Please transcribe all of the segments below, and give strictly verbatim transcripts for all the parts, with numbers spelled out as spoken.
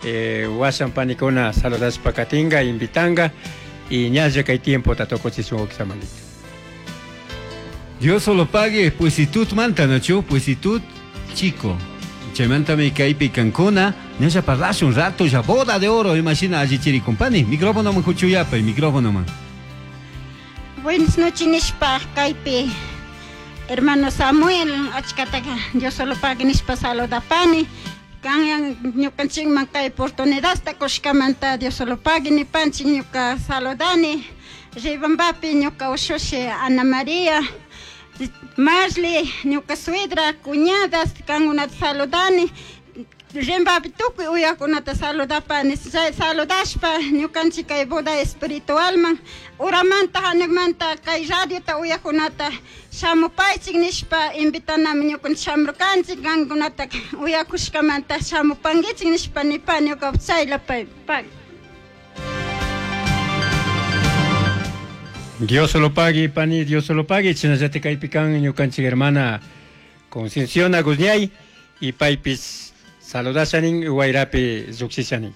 Eh, washan panikuna saludashpa katinga, invitanga y ñalla kay tiempo ta tukuchishun Samuelito. Dios solo pague, Puisitud manta, ¿no? Puisitud chico. Chaymantami kaypi kankuna, ñalla parlash un rato ya boda de oro, imagina allí chiri compani, micrófono man huchuyapa, micrófono man. Buenas noches nishpa kaypi hermano Samuel achkataka Dios solo pague nishpa saludapani kanyan ñukanchikman kay oportunidadta kushkamanta Dios solo pague nipanchik ñuka saludani Riobambapi ñuka ushushi Ana María Marley ñuka suegra cuñadas kankunata saludani Riobambapi tukuy uyakunata saludapani saludashpa ñukanchik kay boda espiritualman uramanta hanakmanta kay radiota uyakunata shamupaychik nishpa invitanami ñukanchik shamurkanchik kankunata uyakushkamanta shamupankichik nishpa nipani ñuka chayla pay pay. Dios solo pague, pani, Dios solo pague. Chinallate kaypikan ñukanchik hermana Concepción Agusñay y paypis saludashanin wayrapi lluqsishanin.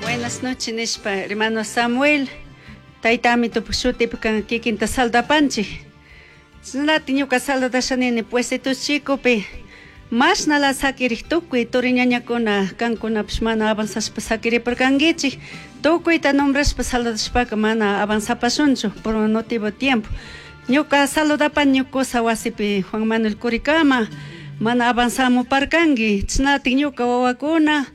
Buenas noches, nishpa, hermano Samuel. Taytami tupu shutipi kan kikinta saldapanchik. Chinallati ñuka saludashanini Puisitud Chicopi. Mashnala sakirik tukuy turiñañakuna kankunapish mana avanzashpa sakiriparkankichik. Tukuyta nombrashpa saludashpaka mana avanzapashunchu por un motivo de tiempo. Ñuka saludapani ñukusa wasipi Juan Manuel Curicama mana avanzamuparkanki. Chinatik ñuka wawakuna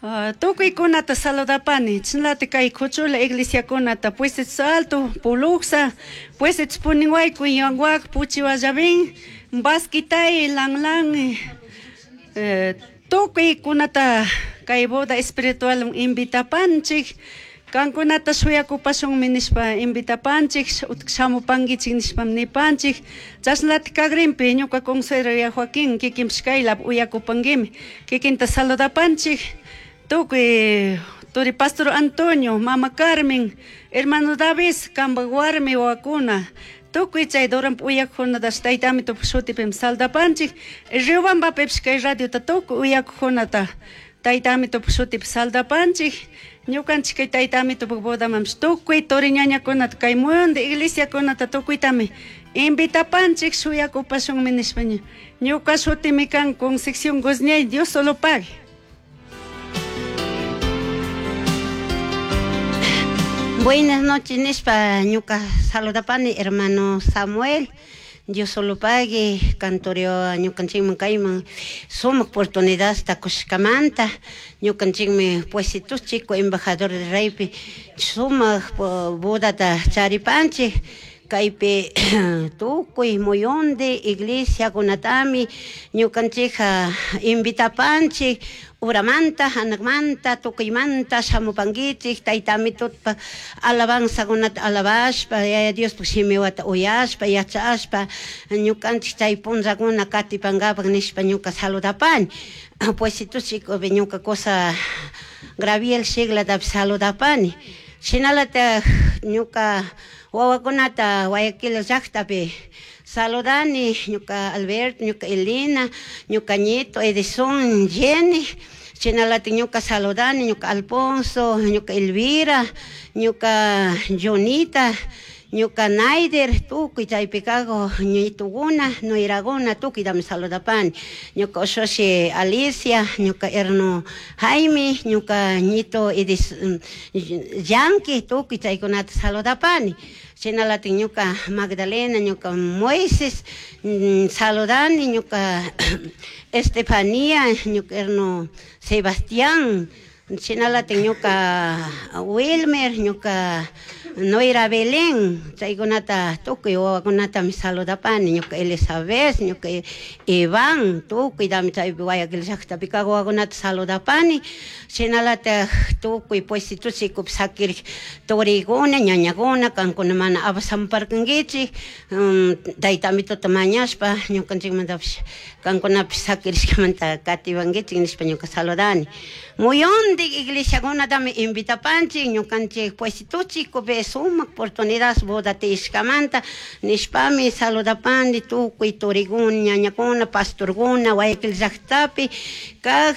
uh, tukuykunata saludapani. Chinatik kay kuchula iglesiakunata Puisitud Alto, Puluxa, Puisitud Puninhuayco, Yanguac, Puchihuallabín, Basquitay, Lanlan, eh, tukuykunata kay boda espiritual invitapanchik. Kankunata shuyakupashunmi nishpa invitapanchik, utk shamupankichik nishpa nipanchik. Chashnalatik kagrinpi ñuka consuelo ya Joaquín kikinpish kaylap uyakupankimi. Kikinta saludapanchik. Tukuy turi Pastor Antonio, Mama Carmen, hermano David, kanpak warmi wawakuna. Tukuy chay Duranpa uyakuqkunatash taytami tupu shutipimi saldapanchik. Riobambapipish kay radiota tukuy uyakuqkunata taytami tupu shutipi saldapanchik. Ñukanchik kay taytami tupu bodamanpish tukuy turiñañakunata kay muyundi iglesiakunata tukuytami invitapanchik shuyakupashunmi nishpa ñuka shutimi kan Concepción Guzñay, Dios solo pague. Buenas noches, nishpa ñuka saludapani hermano Samuel. Dios solo pague, cantorio ñukanchikman kayman sumaq oportunidad kushkamanta ñukanchikmi Puisitud Chico embajador de reypi sumaq bodata charipanchik kaypi tukuy muyundi iglesiakunatami ñukanchikqa invitapanchik uramanta hanakmanta tukuymanta shamupankichik taytami tutpa alabanzakunata alabashpa Yaya Diospaq shimiwata uyashpa yachashpa ñukanchik chay punllakuna katipankapak nishpa ñuka saludapani. Puisitud Chicopi ñuka cosa Graviel Shiglatapis saludapani. Shinalatak ñuka wawakunata Guayaquil llaqtapi saludani ñuka Alberto, ñuka Elena, ñuka Nieto, Edison, Jenny. Shinalatik ñuka saludani ñuka Alfonso, ñuka Elvira, ñuka Jonita, ñuka Naider, tukuy chaypi kago ñitukuna, nuiraguna, tukuytami saludapani. Ñuka ushushi Alicia, ñuka herno Jaime, ñuka ñito Edis Yanqui, tukuy chaykunata saludapani. Shinalatik ñuka Magdalena, ñuka Moises, saludani, ñuka Estefanía, ñuka herno Sebastián, shinalatik ñuka Wilmer, ñuka Noira Belén, chaykunata tukuy wawakunatami saludapani, ñuka Elizabeth, ñuka Iván, tukuytami chaypi Guayaquil llaqtapi kaq wawakunata saludapani, shinalatak tukuy Puisitud Chicopi sakirik turikuna, ñañakuna, kankuna mana apasamparkankichik, taytami tuta mañashpa ñukanchikmantapish kankunapish sakirishkamanta katipankichik nishpa ñuka saludani. Muyundik iglesiakunatami invitapanchik ñukanchik Puisitud Chicopi sumaq oportunidad boda tiyashkamanta nishpami saludapani tukuy turikuna, ñañakuna, pastorkuna, Guayaquil llaqtapi kaq